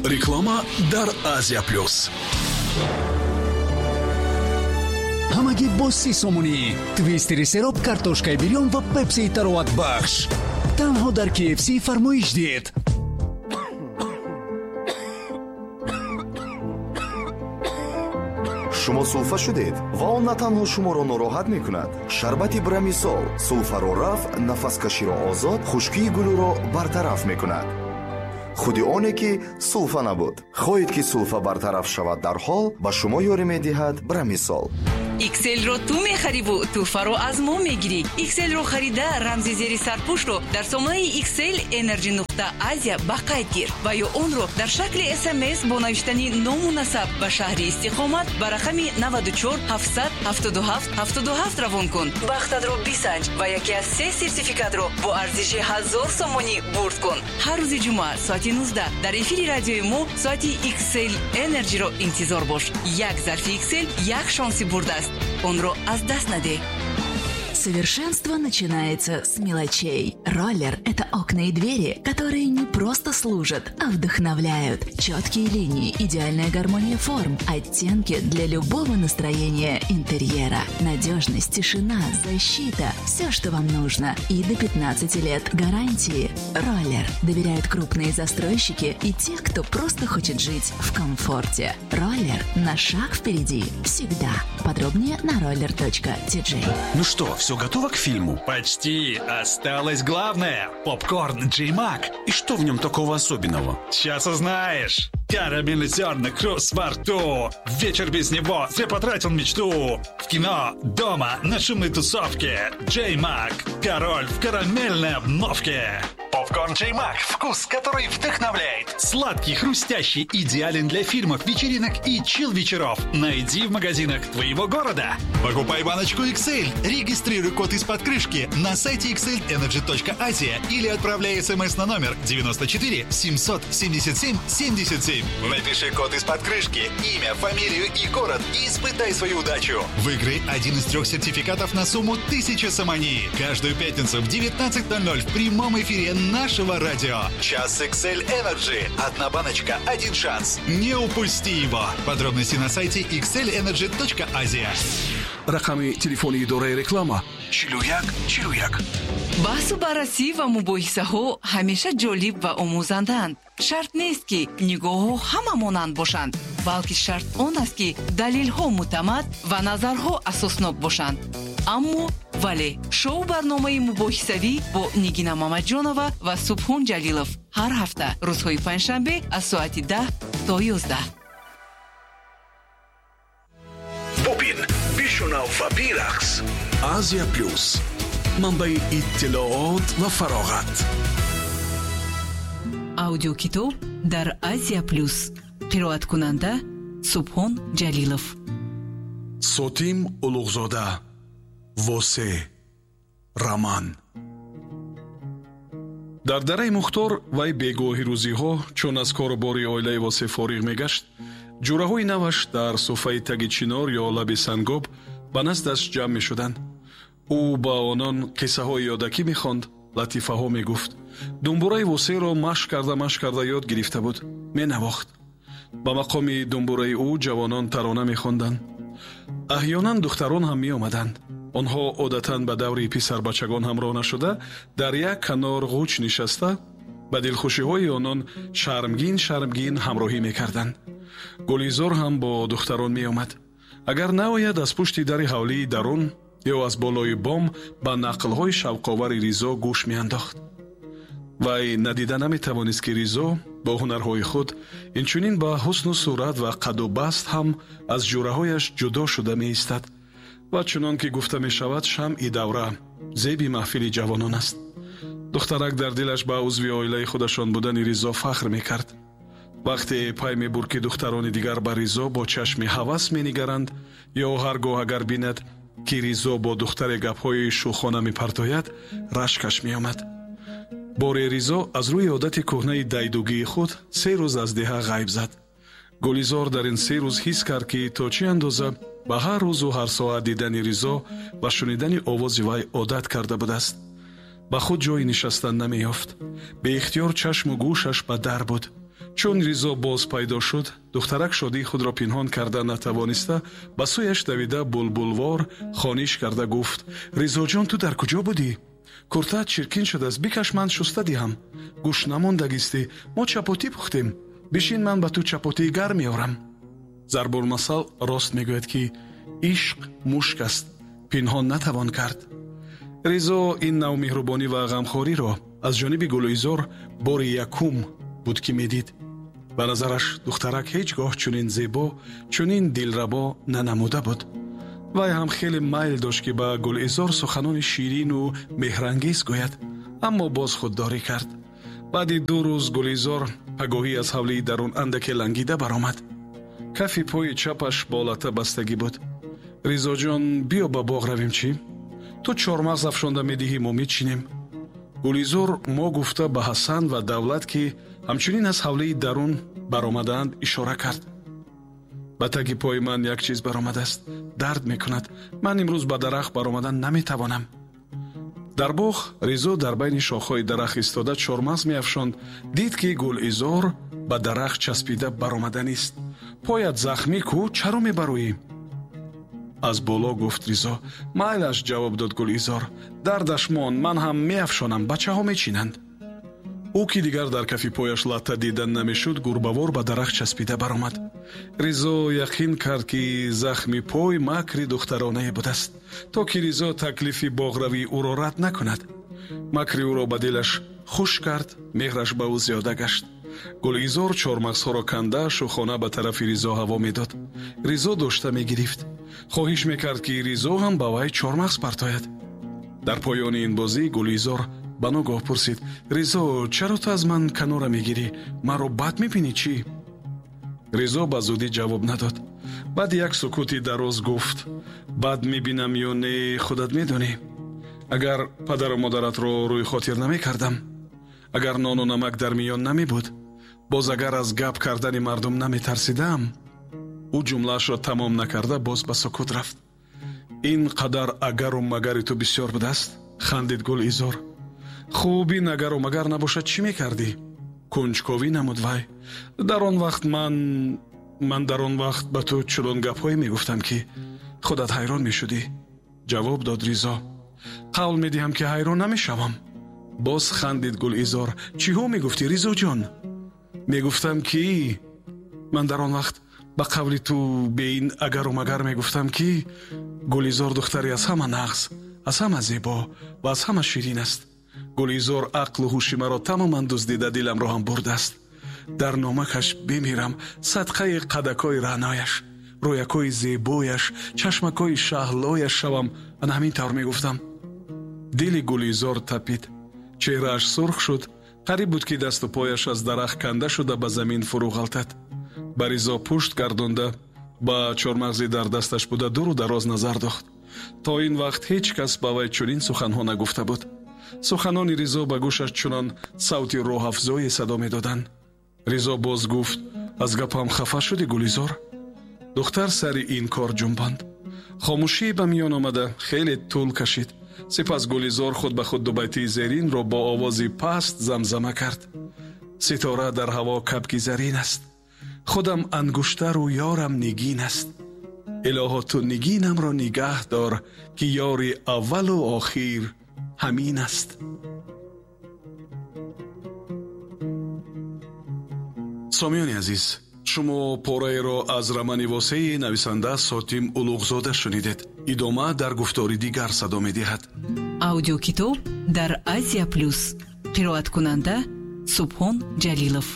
Реклама дар Азия Плюс. Ҳамагӣ бо 30 сомонӣ твистери сероб, картошкаи бирён ва пепсии тароватбахш. Танҳо дар KFC фармоиш диҳед. Шумо сулфа шудед ва он на танҳо шуморо нороҳат мекунад. Шарбати Брамисол сулфаро рафъ, нафаскаширо озод, хушкии гулӯро бартараф мекунад. Худи оне ки сулфа набуд. Хоҳед ки сулфа бартараф шавад дарҳол, ба шумо ёрӣ медиҳад Брамисол. XL-ро ту мехариву тӯҳфаро аз мо мегирӣ. XL-ро харида, рамзи зери сарпӯшро дар сомонаи XL Energy нуқта Азия ба қайд гир ва ё онро дар шакли СМС бо навиштани ному насаб ба шаҳри истиқомат ба рақами 94 777 77 равон кун. Бахтатро бисанҷ ва яке аз се сертификатро бо арзиши 1000 сомонӣ бурд кун. Ҳар рӯзи ҷумъа соати 19 дар эфири радиои мо соати XL Energy-ро интизор бош. Як зарфи XL як шонси бурд аст. Онро аз даст надеҳ. Совершенство начинается с мелочей. Роллер – это окна и двери, которые не просто служат, а вдохновляют. Четкие линии, идеальная гармония форм, оттенки для любого настроения интерьера. Надежность, тишина, защита – все, что вам нужно. И до 15 лет гарантии. Роллер доверяют крупные застройщики и те, кто просто хочет жить в комфорте. Роллер на шаг впереди всегда. Подробнее на roller.tj. Ну что, все готово к фильму? Почти. Осталось главное. Попкорн Джей Мак. И что в нем такого особенного? Сейчас узнаешь. Карамельный зерна, хруст во рту. Вечер без него, зря потратил мечту. В кино, дома, на шумной тусовке. Джей Мак. Король в карамельной обновке. Попкорн Джей Мак. Вкус, который вдохновляет. Сладкий, хрустящий, идеален для фильмов, вечеринок и чил-вечеров. Найди в магазинах твоего города. Покупай баночку XL. Регистрируй код из-под крышки на сайте xlenergy.asia или отправляй смс на номер 94 777 77. Напиши код из-под крышки, имя, фамилию и город и испытай свою удачу. Выиграй один из трех сертификатов на сумму 1000 сомони. Каждую пятницу в 19:00 в прямом эфире нашего радио. Час XL Energy. Одна баночка, один шанс. Не упусти его. Подробности на сайте xlenergy.asia. Рақами телефони идораи реклама 41 41. Баҳсу баррасӣ ва мубоҳисаҳо ҳамеша ҷолиб ва омӯзандаанд. Шарт нест, ки нигоҳҳо ҳама монанд бошанд, балки шарт он аст, ки далелҳо мӯътамад ва назарҳо асоснок бошанд. Аммо вале шоу барномаи мубоҳисавӣ бо Нигина Мамаҷонова ва Субҳон Ҷалилов ҳар ҳафта рӯзҳои панҷшанбе аз соати 10 то 11. Бубин, бишунав ва бирақс. Азия Плюс. Манбаи иттилоот ва фароғат. Аудиокитоб дар Азия Плюс. Қироаткунанда Субҳон Ҷалилов. Сотим Улуғзода. Восе. Роман. Дар дараи Мухтор вай бегоҳи рӯзиҳо, чун аз кору бори оилаи Восе фориғ мегашт, ҷураҳои наваш дар суфаи таги чинор ё лаби сангоб ба наздаш ҷамъ мешуданд. Ӯ ба онон қиссаҳои ёдакӣ мехонд, латифаҳо мегуфт. Думбураи Восеро машқ карда машқ карда ёд гирифта буд, менавохт. Ба мақоми думбураи ӯ ҷавонон тарона мехонданд. Аҳёнан духтарон ҳам меомаданд. Онҳо одатан ба даври писарбачагон ҳамроҳ нашуда, дар як канор ғуч нишаста, ба дилхушиҳои онон шармгин шармгин ҳамроҳӣ мекарданд. Гулизор ҳам бо духтарон меомад. Агар наояд, аз пушти дари ҳавлии дарун ё аз болои бом ба нақлҳои шавқовари Ризо гӯш меандохт. Вай надида наметавонист, ки Ризо бо ҳунарҳои худ инчунин ба ҳусну сурат ва қаду баст ҳам аз ҷураҳояш ҷудо шуда меистад ва чунон ки гуфта мешавад, шамъи давра зеби маҳфили ҷавонон аст. Духтарак дар дилаш ба узви оилаи худашон будани Ризо фахр мекард. Вақте пай мебурд, ки духтарони дигар ба Ризо бо чашми ҳавас менигаранд, ё ҳар гоҳ агар бинад, ки Ризо бо духтаре гапҳои шӯхона мепартояд, рашкаш меомад. Боре Ризо аз рӯи одати кӯҳнаи дайдугии худ 3 рӯз аз деҳа ғайб зад. Гулизор дар ин 3 рӯз ҳис кард, ки то чӣ андоза ба ҳар рӯзу ҳар соат дидани Ризо ва шунидани овози вай одат карда будааст. Ба худ ҷои нишастан намеёфт. Беихтиёр чашму гӯшаш ба дар буд. Чун Ризо боз пайдо шуд, духтарак шодии худро пинҳон карда натавониста, ба сӯяш давида булбулвор хониш карда гуфт: «Ризоҷон, ту дар куҷо будӣ? Куртаат чиркин шудааст, бикаш, ман шуста диҳам. Гӯш намондагистӣ, мо чапотӣ пухтем. Бишин, ман ба ту чапотии гарм меорам». Зарбулмасал рост мегӯяд, ки ишқ мушк аст, пинҳон натавон кард. Ризо ин нав меҳрубонӣ ва ғамхориро аз ҷониби Гулизор бори якум буд, ки медид. Ба назараш духтарак ҳеҷ гоҳ чунин зебо, чунин дилрабо нанамуда буд. Вай ҳам хеле майл дошт, ки ба Гулизор суханони ширину меҳрангез гӯяд, аммо боз худдорӣ кард. Баъди 2 рӯз Гулизор пагоҳӣ аз ҳавлии дарун андаке лангида баромад. Кафи пои чапаш бо лата бастагӣ буд. «Ризоҷон, биё ба боғ равем, чӣ? Ту чормағз афшонда медиҳӣ, мо мечинем». Гулизор мо гуфта ба Ҳасан ва Давлат, ки ҳамчунин аз ҳавлии дарун баромадаанд, ишора кард. «Ба таги пои ман як чиз баромадааст, дард мекунад. Ман имрӯз ба дарахт баромадан наметавонам». Дар боғ Ризо дар байни шохҳои дарахт истода чормағз меафшонд. Дид, ки Гулизор ба дарахт часпида баромаданист. «Поят захмӣ ку, чаро мебароӣ?» аз боло гуфт Ризо. «Майлаш», ҷавоб дод Гулизор, «дардаш мон, ман ҳам меафшонам, бачаҳо мечинанд». Ӯ, ки дигар дар кафи пояш латта дида намешуд, гурбавор ба дарахт часпида баромад. Ризо яқин кард, ки захми пой макри духтаронае будааст, то ки Ризо таклифи боғравии ӯро рад накунад. Макри ӯро ба дилаш хуш кард, меҳраш ба ӯ зиёда гашт. Гулизор чормағзҳоро канда шӯхона ба тарафи Ризо ҳаво медод. Ризо дошта мегирифт. Хоҳиш мекард, ки Ризо ҳам ба вай чормағз партояд. Дар поёни ин бозӣ Гулизор ба ногоҳ пурсид: «Ризо, чаро ту аз ман канора мегирӣ? Маро бад мебинӣ чӣ?» Ризо ба зудӣ ҷавоб надод. Баъди як сукути дароз гуфт: «Бад мебинам ё не, худат медонӣ. Агар падару модаратро рӯи хотир намекардам, агар нону намак дар миён намебуд, боз агар аз гап кардани мардум наметарсидам». Ӯ ҷумлаашро тамом накарда боз ба сукут рафт. «Ин қадар агару магари ту бисёр будааст», хандид Гулизор. «Хуб, ин агару магар набошад, чӣ мекардӣ?» кунҷковӣ намуд вай. «Дар он вақт ман дар он вақт ба ту чунон гапҳое мегуфтам, ки худат ҳайрон мешудӣ», ҷавоб дод Ризо. «Қавл медиҳам, ки ҳайрон намешавам», боз хандид Гулизор. «Чиҳо мегуфтӣ, Ризоҷон?» «Мегуфтам, ки ман дар он вақт ба қавли ту бе ин агару магар мегуфтам, ки Гулизор духтаре аз ҳама нағз, аз ҳама зебо ва аз ҳама ширин аст. Гулизор ақлу ҳуши маро тамоман дуздида, диламро ҳам бурдааст. Дар номакаш бимирам, садқаи қадакҳои раънояш, рӯякҳои зебояш, чашмакҳои шаҳлояш шавам. Ана ҳамин тавр мегуфтам». Дили Гулизор тапид, чеҳрааш сурх шуд. Қариб буд, ки дасту пояш аз дарахт канда шуда ба замин фурӯ ғалтад. Ба Ризо пушт гардонда, ба чормағзи дар дасташ буда дуру дароз назар дохт. То ин вақт ҳеҷ кас ба вай чунин суханҳо нагуфта буд. Суханони Ризо ба гӯшаш чунон савти роҳафзое садо медоданд. Ризо боз гуфт: «Аз гапам хафа шудӣ, Гулизор?» Духтар сари ин кор ҷунбонд. Хомӯшӣ ба миён омада хеле тӯл кашид. Сипас Гулизор худ ба худ дубайтии зеринро бо овози паст замзама кард: «Ситора дар ҳаво кабки зарин аст, худам ангуштару ёрам нигин аст. Илоҳо, ту нигинамро нигаҳ дор, ки ёри аввалу охир ҳамин аст». Сомиёни азиз, шумо пораеро аз романи Восеи нависанда Сотим Улуғзода шунидед. Идома дар гуфтори дигар садо медиҳад. Аудиокитоб дар Азия Плюс. Қироаткунанда Субҳон Ҷалилов.